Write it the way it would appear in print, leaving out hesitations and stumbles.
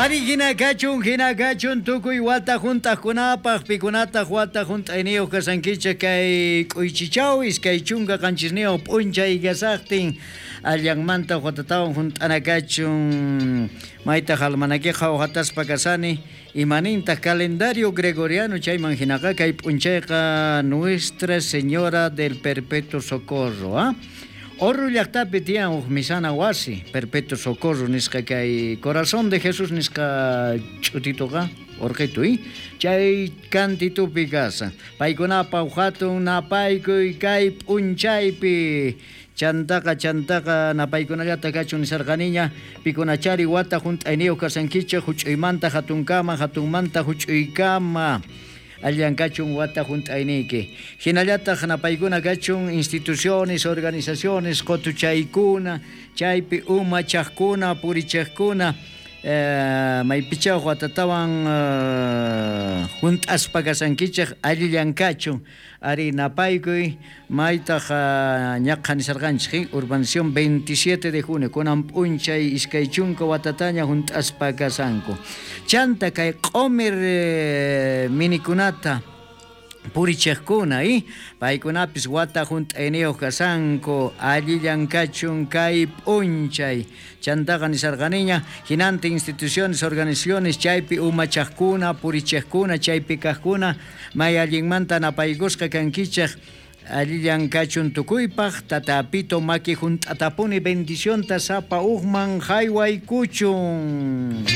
Ari hina kachun, hina kachun tukuy wata hunt'aqkunapaq, pikunataq wata hunt'ayniyuq kasankichik kay k'uychichaw 27 p'unchay kasaqtin allanmanta watatawan hunt'ana kachun. Maytaq almanakiqa uhataspa kasani, imanintaq calendario gregoriano chayman hinaqa kay p'unchayqa Nuestra Señora del Perpetuo Socorro, ¿ah? Orru llaqtapi tiyan huk misana wasi, Perpetuo Socorro nisqa kay Corazón de Jesús nisqa ch'utituqa, orqitu, chay kantitupi kasan. Paykunapa hatun napaykuy kay p'unchaypi. Chantaqa, chantaqa napaykunallata kachun nisarqaniña, pikunachari wata hunt'ayniyuq kasankichik huch'uymanta hatunkama, hatunmanta huch'uykama. Allan kachun wata hunt'ayniyki. Hinallataq napaykuna kachun instituciones, organizaciones, qotuchaykuna, chaypi umachaqkuna, purichaqkuna, maypichaw watatawan hunt'aspa kasankichik allillan kachun. Ari napaykuy maytaq ñaqha nisarqanchik, urbanización 27 de junio, kunan p'unchay 20 watataña hunt'aspa kasanku. Chanta kay q'umir minikunata purichiqkuna, paykunapis wata hunt'ayniyuq kasanku, allillan kachun kay p'unchay. Chantaqa nisarqaniña hinantin instituciones, organizaciones chaypi umachaqkuna, purichiqkuna, chaypi kaqkuna may allinmanta napaykusqa kankichik. Allillan kachun tukuypaq, tatapito maki hunt'atapuni bendicionta sapa uqman haywaykuchun.